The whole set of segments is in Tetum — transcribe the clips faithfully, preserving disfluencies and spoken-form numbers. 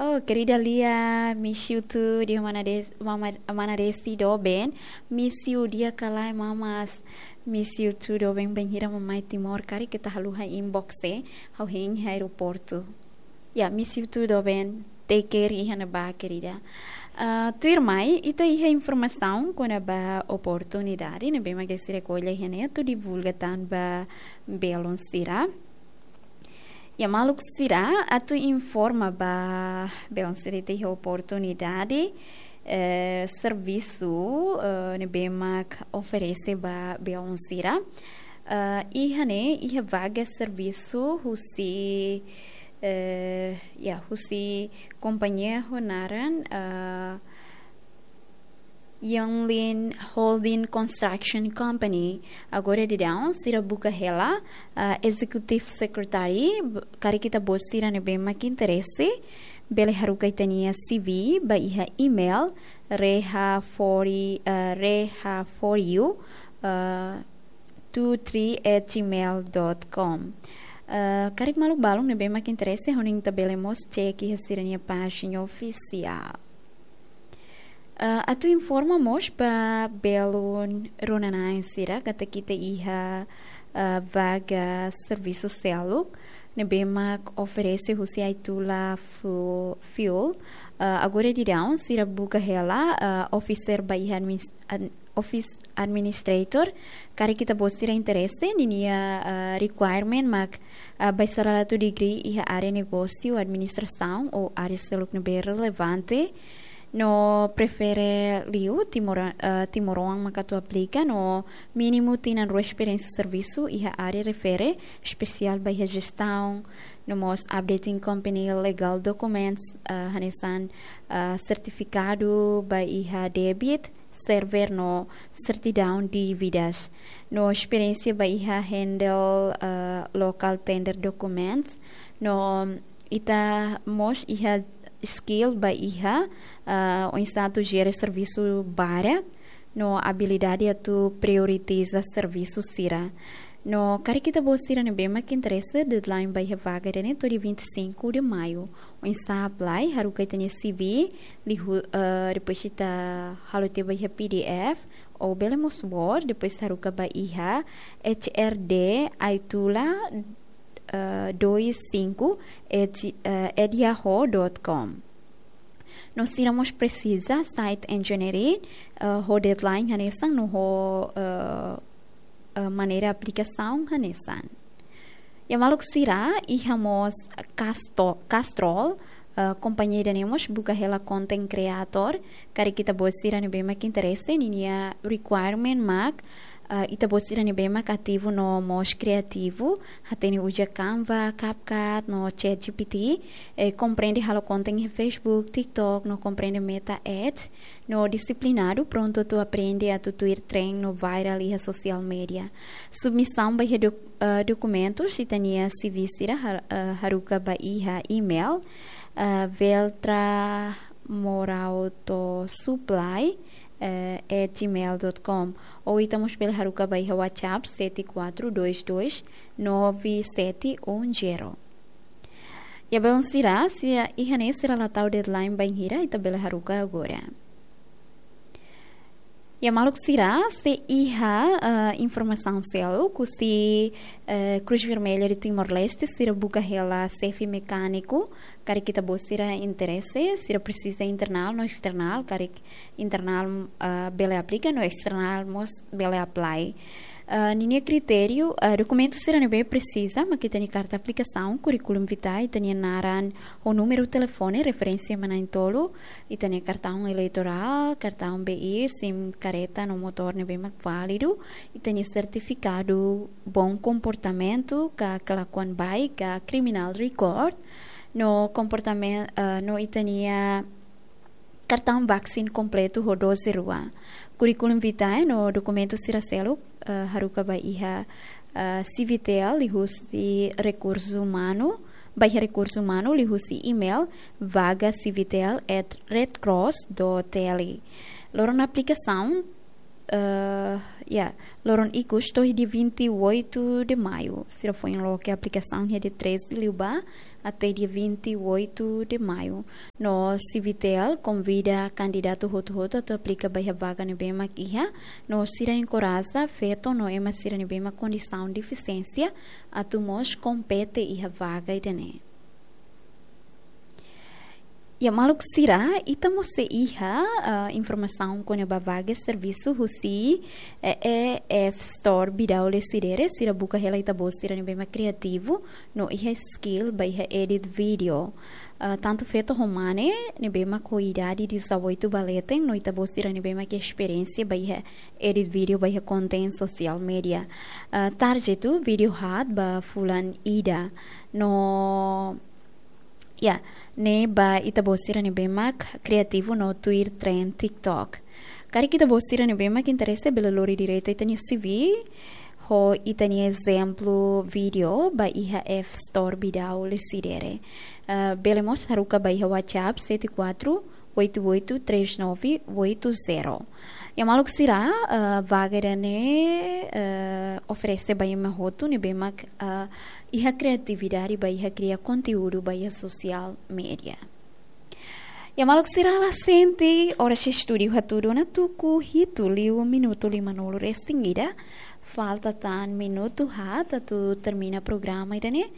Oh, querida Lia, miss you too, di'ak mana Des-, mama, mana Desi doben, miss you di'ak ka lae mamas, miss you too doben, bainhira mai Timor, karik ita haluha inbox, eh, ha'u hein iha aeroportu. Ya, miss you too doben, take care iha ne'ebá, querida. Ah, tuirmai, ita iha informasaun kona-ba oportunidade ne'ebé mak sira ko'alia iha ne'e atu divulga tan ba belun sira. Ya, maluk sira, atu informa ba belun sira ita iha oportunidade, eh, servisu, eh, ne'ebé mak oferese ba belun sira. Eh, iha ne'e, iha vaga servisu husi, eh, ya, husi kompañia ho naran, eh, Yonglin Holding Construction Company. Agora daudaun, sira buka hela, ah, Executive Secretary, b-, karik ita-boot sira ne'ebé mak interese, bele haruka ita-nia C V ba iha email, reha for, ah, reha for you, ah, two three at gmail dot com. Ah, karik maluk balun ne'ebé mak interese, hanoin ita bele mós cek iha sira-nia pájina ofisiál. Ah, atu informa mós ba belun rona-na'in sira katak ita iha, ah, vaga servisu seluk ne'ebé mak oferese husi Aitula Fu-, Fuel. Ah, agora daudaun sira buka hela, ah, officer ba iha adminis-, ad-, office administrator. Karik ita-boot sira interese, ninia, ah, requirement mak, ah, bacharelatu degree iha área negósiu, administrasaun ou área seluk ne'ebé relevante. No prefere liu Timor-, ah, timoroan mak atu aplika, no mínimu tinan rua esperiénsia servisu iha área refere, espesiál ba iha jestaun, no mós updating company legal documents, ah, hanesan, ah, sertifikadu ba iha débit, server no sertidaun dívidas. No esperiénsia ba iha handle, ah, local tender documents. No ita mós iha skill ba iha, ah, oinsá atu jere servisu barak, no abilidade atu prioritiza servisu sira. No karik ita-boot sira ne'ebé mak interese, deadline ba iha vaga ida-ne'e to'o dia vinte e cinco de maio. Oinsá apply, haruka ita-nia C V, liu, eh, depois ita halo tiha ba iha P D F, ou bele mós Word, depois haruka ba iha H R D Aitula, eh, dois cinco at, eh, at yahoo dot com. No sira mós presiza site engineering, eh, ho deadline hanesan no ho, eh, eh, maneira aplikasaun hanesan. Ya maluk sira, iha mós Casto-, Castrol, eh, kompañia ida-ne'e mós buka hela content creator, karik ita-boot sira ne'ebé mak interese, ninia requirement mak, eh, ita-boot sira ne'ebé mak ativu no mós kriativu, hatene uza Canva, CapCut, no ChatGPT, eh, komprende halo content iha Facebook, TikTok, no komprende Meta Ads, no disiplinadu, prontu atu aprende atu tuir trend no viral iha social media. Submisaun ba iha doc-, eh, dokumentus, ita-nia C V sira har-, eh, haruka ba iha email, eh, veltra morauto supply, eh, at gmail dot com. Ou ita mós bele haruka ba iha WhatsApp sete quatro dois dois nove sete um zero. Ya belun sira, se iha ne'e sira la tau deadline bainhira, ita bele haruka agora. Ya maluk sira, se iha, eh, informasaun seluk husi, eh, Cruz Vermelha de Timor-Leste, sira buka hela xefe mekániku, karik ita-boot sira interese, sira presiza internal no external, karik internal, eh, bele aplika, no external mós bele apply. Eh, ninia kritériu, eh, dokumentu sira ne'ebé presiza, mak ita-nia karta aplikasaun, curriculum vitae, ita-nia naran, ho númeru telefone, referénsia iha na'in-tolu, ita-nia kartaun eleitorál, kartaun B I, sim karreta no motór ne'ebé mak válidu, ita-nia sertifikadu bom comportamento, ka kelakuan baik, ka criminal record, no comportamen-, eh, no ita-nia kartaun vaksin kompletu ho doze rua. Curriculum vitae no dokumentu sira seluk, eh, haruka ba iha, eh, Civitl liuhusi rekursu umanu, ba iha rekursu umanu liuhusi email vaga civitl at redcross dot T L. Loron aplikasaun, eh, ya, loron ikus to'o dia vinte e oito de maio. Sira foin loke aplikasaun iha dia treze liubá, até dia vinte e oito de maio. No Civitel konvida kandidatu hotu-hotu atu aplika ba iha vaga ne'ebé mak iha, no sira enkoraja feto no ema sira ne'ebé mak kondisaun defisiénsia atu mós kompete iha vaga ida-ne'e. Ya, maluk sira, ita mós sei iha, ah, informasaun kona-ba vaga servisu husi, eh, E F Store Bidau Lecidere, sira buka hela ita-boot sira ne'ebé mak kriativu, no iha skill ba iha edit video. Ah, tantu feto ho mane, ne'ebé mak ho idade dezoito ba leten, no ita-boot sira ne'ebé mak esperiénsia ba iha edit video ba iha konten sosiál media. Ah, target atu vídeo haat ba fulan ida. No, ya, ne'e ba ita-boot sira ne'ebé mak kriativu no tuir tren TikTok. Karik ita-boot sira ne'ebé mak interese bele lori diretu ita-nia C V, ho ita-nia ezemplu vídeo ba iha F Store Bidau Lecidere. Ah, bele mós haruka ba iha WhatsApp sete quatro oito oito três nove oito zero. Ya, maluk sira, ah, vaga ida-ne'e, ah, oferese ba ema hotu ne'ebé mak, ah, iha kriatividade ba iha kria konteúdu ba iha sosiál media. Ya, maluk sira, la sente, oras estúdiu hatudu ona tuku hitu liu minutu limanulu-resin-ida. Falta tan minutu haat atu termina programa ida-ne'e.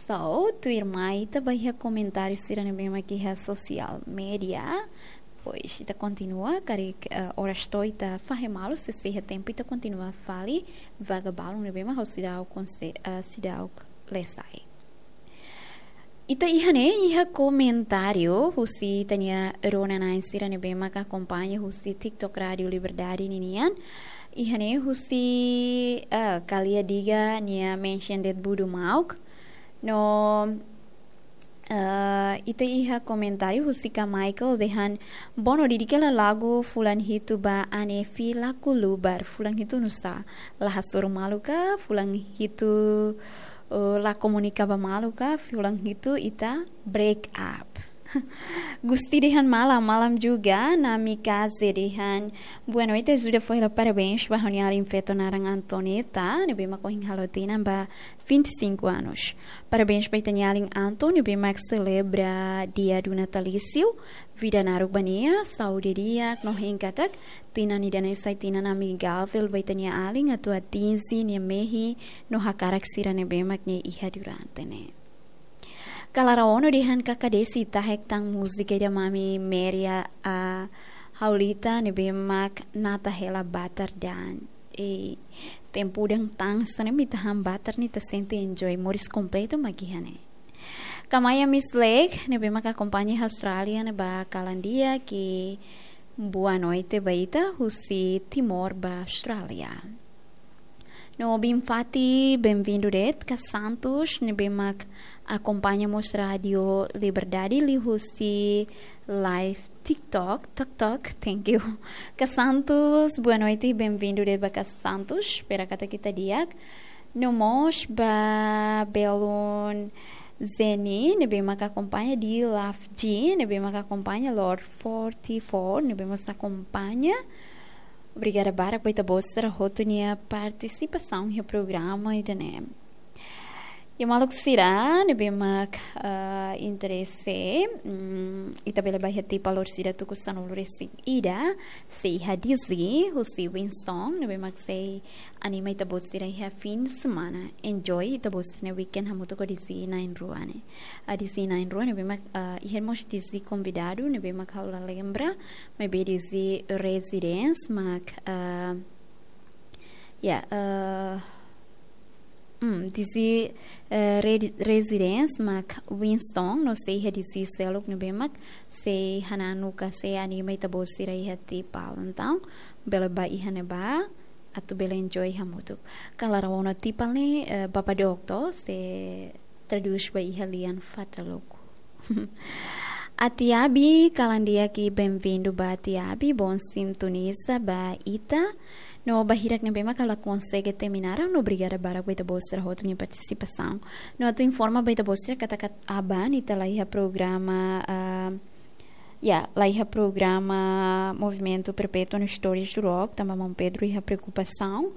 So, tuirmai ita ba iha komentáriu sira ne'ebé mak iha sosiál media. Depois, ita kontinua, karik, eh, oras to'o ita fahe malu, se sei iha tempu ita kontinua fali vaga balun ne'ebé mak ha'u seidauk konse-, eh, seidauk lee sai. Ita iha ne'e, iha komentáriu husi ita-nia rona-na'in sira ne'ebé mak akompaña husi TikTok Rádio Liberdade ninian. Iha ne'e husi, eh, Kalia Diga nia mention de'it Budu Mauk. No, eh, ita iha komentáriu husi Ka Michael dehan: "Bono, dedika lagu fulan hitu ba Anefi la kulubar, fulan hitu nusá? La hasoru malu ka, fulan hitu, eh, la komunika ba malu ka, fulan hitu ita break up." Gusti dehan: "Malam, malam juga." Nami Kaze dehan: "Boa noite, ajuda fó hela parabéns ba ha'u-nia alin feto naran Antoneta, ne'ebé mak ohin halo tinan ba vinte e cinco anos. Parabéns ba ita-nia alin Anto, ne'ebé mak selebra dia do natalício. Vida naruk ba nia, saúde di'ak, no hein katak tinan ida-ne'e sai tinan amigável ba ita-nia alin atu atinje nia mehi no hakarak sira ne'ebé mak nia iha durante ne'e." Kala Raono dehan: "Kaka Desi, tahek tan múzika ida Mami Meria, ah, Haulita ne'ebé mak nata hela batar da'an." E tempu udan tan hanesan ne'e, ita han batar ne'e ita sente enjoy, moris kompletu mak iha ne'e. Kamaya Miss Lake ne'ebé mak akompaña iha Austrália ne'e ba kalan di'ak, boa noite ba ita husi Timor ba Austrália. No Bin Fati, benvindu de'it. Ka Santos, ne'ebé mak akompaña mós Rádio Liberdade liuhusi live TikTok, tok tok, thank you. Ka Santos, boa noite, benvindu de'it ba Ka Santos, espera katak ita di'ak. No mós ba belun Zeni, ne'ebé mak akompaña, di Love G, ne'ebé mak akompaña, Lord forty-four, ne'ebé mós akompaña. Obrigada barak ba ita-boot sira hotu nia partisipasaun iha programa ida-ne'e. Ya, maluk sira ne'ebé mak, ah, interese, mm, ita bele ba iha Tipa Lor sira tuku sanulu-resin-ida, sei iha D J husi Winston, ne'ebé mak sei anima ita-boot sira iha fin de semana. Enjoy ita-boot sira-nia weekend hamutuk ho D J na'in-rua ne'e. Ah, D J na'in-rua ne'ebé mak, ah, iha mós D J konvidadu, ne'ebé mak ha'u la lembra, maibé D J Residence mak, ah, ya, ah, hmm, D J, eh, Re-, Residence mak Winston, no sei iha D J seluk ne'ebé mak sei hananu ka sei anima ita-boot sira iha Tipa Lor. Entaun, bele ba iha ne'ebá, atu bele enjoy hamutuk. Kala Raono, Tipa Lor ne'e, eh, bapa doktor, sei tradús ba iha lian Fataluku. Atiabi, kalan di'ak, benvindu ba Atiabi, bom sintoniza ba ita. No ba hirak ne'ebé mak la konsege temi naran, no obrigada barak ba ita-boot sira hotu nia partisipasaun. No atu informa ba ita-boot sira katak aban ita la iha programa, ah, ya, la iha programa Movimento Perpétuo no Histórias do Rock, tanba maun Pedro iha preokupasaun.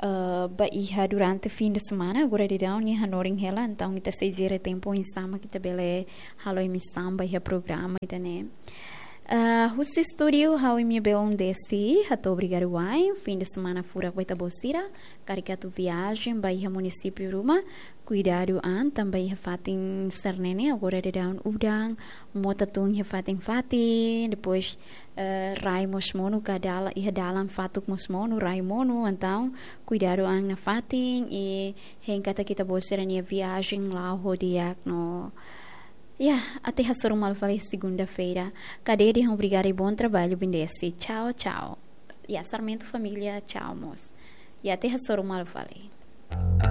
Ah, ba iha durante fim de semana, agora daudaun nia hanorin hela, entaun ita sei jere tempu oinsá mak ita bele halo emissão ba iha programa ida-ne'e. Ah, husi estúdiu ha'u imi-nia belun Desi, hato'o obrigadu wa'in, fim de semana furak ba ita-boot sira, karik atu viajen ba iha munisípiu ruma, kuidadu an, tanba iha fatin sira-ne'e ne'e, agora daudaun udan, mota tun iha fatin-fatin, depois, eh, rai mós monu, ka dala-, iha dalan fatuk mós monu, rai monu, entaun kuidadu an nafatin, i hein katak ita-boot sira-nia viajen la'o ho di'ak no. Ya, até hasoru malu fali segunda-feira. Ka dehan obrigada i bom trabalho, belun Desi. Tchau, tchau. Ya, Sarmento família, tchau, mós. Ya, até hasoru malu fali.